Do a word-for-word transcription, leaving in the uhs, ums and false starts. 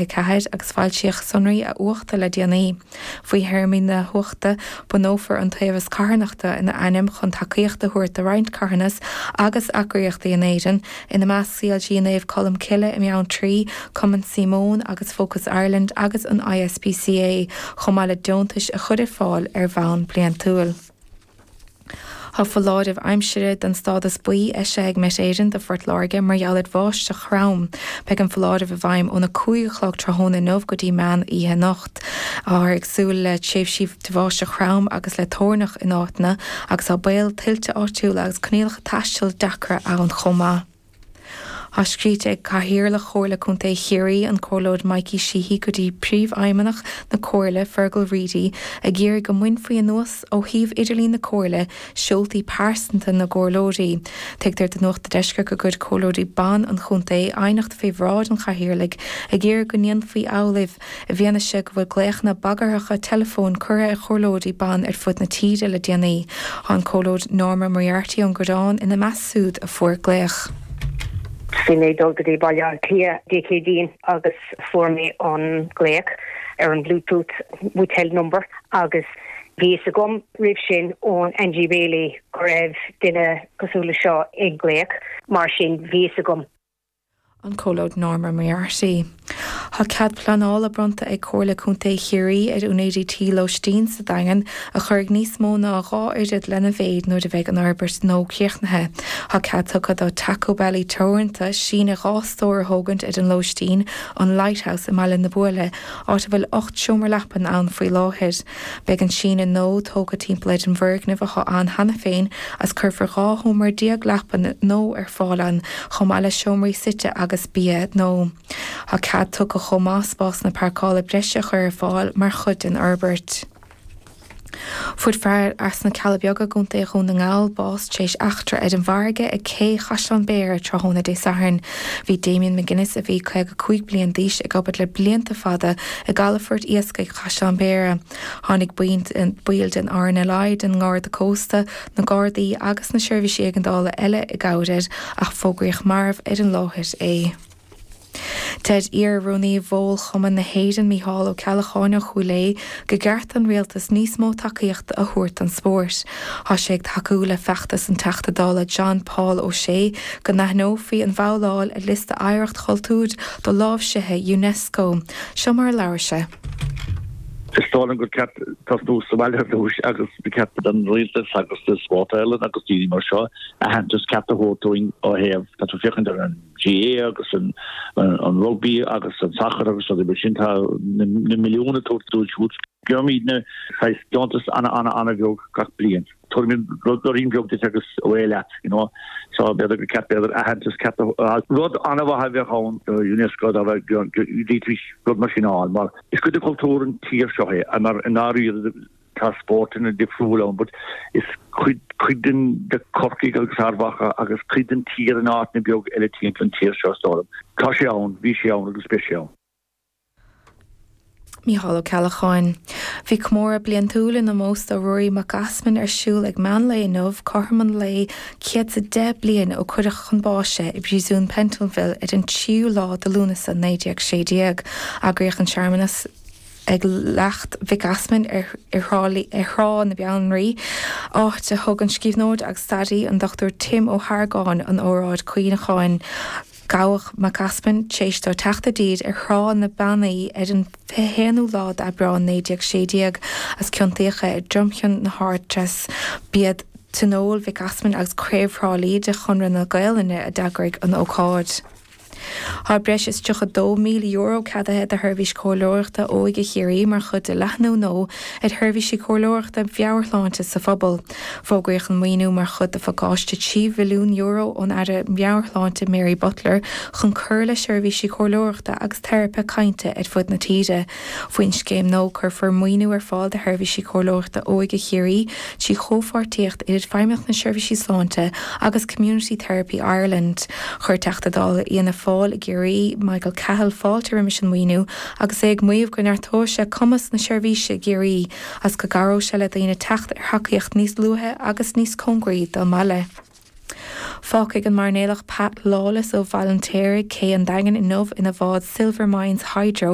ceathair agus foilsíodh sonraí a uachta le déanaí. Faoi théarmaí na huachta bunófar iontaobhas carthanachta ina ainm chun tacaíocht a thabhairt do roinnt carthanas agus eagraíochtaí in Éirinn, ina measc CLG Naomh Colm Cille i mBeanntraí, Cumann Síomón agus Focus Ireland agus an ISPCA, chomh maith le deontais a chur ar fáil ar bhonn bliantúil. Tá foláireamh aimsire den stádas buí eisithe ag Met Éireann do Phort Láirge mar gheall ar bháisteach throm. Beidh an foláireamh i bhfeidhm óna cúig a chlog tráthnóna inniu go dtí meán oíche anocht. Táthar ag súil le tréimhsí de bháisteach throm agus le toirneach in áiteanna agus tá baol tuilte áitiúla agus coinníollacha taistil deacra ann chomh maith. Tá scríte ag Cathaoirleach Chomhairle Contae Chiarraí, an Comhairleoir Mikey Sheehy go dtí Príomhfheidhmeannach na Comhairle, Fergal Reidy, ag iarraidh go mbainfí anuas ó shuíomh idirlín na Comhairle seoltaí pearsanta na gcomhairleoirí. Tuigtear do Nuacht an Deiscirt gur chuir comhairleoirí ban an chontae aighneacht faoi bhráid an chathaoirligh ag iarraidh go ndéanfaí amhlaidh i bhfianaise go bhfuil glaochanna bagarthacha teileafóin curtha ar chomhairleoirí ban ar fud na tíre le déanaí. Tá an Comhairleoir Norma Moriarty ón gCorrán ina measc siúd a fuair glaoch. Bhí mé dul go dtí Baile Átha Cliath Dé Céadaoin agus fuair mé an glaoch ar an Bluetooth withheld number agus bhí a fhios agam roimh sin ón Angie Bailey go raibh duine cosúil le seo ag glaoch mar sin bhí a fhios agam. An Comhairleoir Norma Moriarty. Tá cead pleanála bronnta ag Comhairle Contae Chiarraí ar úinéirí tí lóistín sa Daingean a chuirfidh níos mó ná dhá oiread lena mhéid nuair a bheidh an fhorbairt nua críochnaithe. Tá cead tugtha do Taco Belly Teoranta síneadh dhá stór a thógaint ar an lóistín, an Lighthouse i mBaile na Buaile, áit a bhfuil ocht seomra leapan ann faoi láthair. Beidh an síneadh nua tógtha timpeall ar an bhfoirgneamh atá ann cheana féin agus cuirfear dhá sheomra déag leapan nua ar fáil ann, chomh maith le seomraí suite agus bia nua. Tá cead tugtha chomh maith spásanna páirceála breise a chur ar fáil mar chuid den fhorbairt. Fuair fear as na Cealla Beaga i gContae Dhún na nGall bás tar éis eachtra ar an bhfarraige ag cé Chaisleán Béara tráthnóna Dé Sathairn. Bhí Damien McGuinness, a bhí caoga cúig bliain d'aois, ag obair le blianta fada i gcalafort iascaigh Chaisleán Béara. Tháinig baill den RNLI, den nGarda Cósta, na Gardaí agus na seirbhísí éigeandála eile i gcabhair air ach fógraíodh marbh ar an láthair é. Deir iar-rúnaí Bhál-Chumann na hÉireann Mícheál Ó Ceallacháin ó Chúil Aodha gur cheart don rialtas níos mó tacaíochta a thabhairt don spórt. Tá sé ag tacú le feachtas an Teachta Dála John Paul O'Shea go n-aithneofaí an bhabhláil ar liosta oidhreacht chultúir doláimhsithe UNESCO. Seo mar a labhair sé. Is dóigh liom gur ceart tosnú sa bhaile ar dtús agus ba cheart don rialtas agus do Sport Ireland agus daoine mar seo aitheantas ceart a thabhairt dúinn ó thaobh tá tú féachaint ar an GAA agus an an rugby agus an sacar agus rudaí mar sin tá na milliúin ag tabhairt dóibh siúd. Gheobhaimidne saghas deontas ana ana ana bheag gach bliain. Tabharfaimid rudaín beag duit agus away leat, you know. So b'fhéidir gur ceart b'fhéidir aitheantas ceart a Rud an-mhaith a bheadh ann do UNESCO dá bhféadfaidís rud mar sin a fháil mar is cuid de chultúr an tír seo é mar i ndáiríre tá spórtanna difriúil ann but is cuid cuid den de Corcaigh agus Ard Mhacha agus cuid den tír in áiteanna beag eile timpeall an tír seo is dóigh liom. Tá sé ann, bhí sé ann agus beidh sé ann. Mícheál Ó Ceallacháin. Bhí comóradh bliantúil in ómós do Ruairí Mac Easmainn ar siúl ag meán lae inniu, cothrom an lae céad is a deich bliain ó cuireadh chun báis é i bpríosún Pentonville ar an tríú lá de Lúnasa naoi déag sé déag. Eagraíodh an searmanas ag leacht Mhic Easmainn ar Thrá na Beannraí, áit a thug an scríbhneoir agus staraí an Dr Tim Ó hArgáin an óráid cuimhneacháin. Gabhadh Mac Easmainn tar éis dó teacht i dtír ar Thrá na Bannaí ar an fiche haonú lá d'Aibreán naoi déag sé déag agus ciontaíodh é i dtromchion na hArdtreise. B'iad Tionól Mhic Easmainn agus Craobh Thrá Lí de Chonradh na Gaelainne a d'eagraigh an ócáid. Tá breis is tríocha dó míle euro ceadaithe do Sheirbhís Comhairleoireachta Óige Chiarraí mar chuid de leathnú nua ar sheirbhísí comhairleoireachta mheabhairshláinte sa phobal. Fógraíodh an maoiniú mar chuid de phacáiste trí mhilliún euro ón Aire Meabhairshláinte Mary Butler chun cur le seirbhísí comhairleoireachta agus teiripe cainte ar fud na tíre. Faoin scéim nua cuirfear maoiniú ar fáil do Sheirbhísí Comhairleoireachta Óige Chiarraí trí chomhpháirtíocht idir Feidhmeannacht na Seirbhísí Sláinte agus Community Therapy Ireland. Chuir Teachta Dála Fhianna Fáil i gCiarraí, Michael Cahill fáilte roimis an maoiniú agus é ag maíomh go neartóidh sé cumas na seirbhíse i gCiarraí agus go gcabhróidh sé le daoine teacht ar thacaíocht níos luaithe agus níos cóngaraí dá mbaile. Fágfaidh an mairnéalach Pat Lawless ó Bhaile an Tséaraigh cé an Daingin inniu ina bhád Silvermines Hydro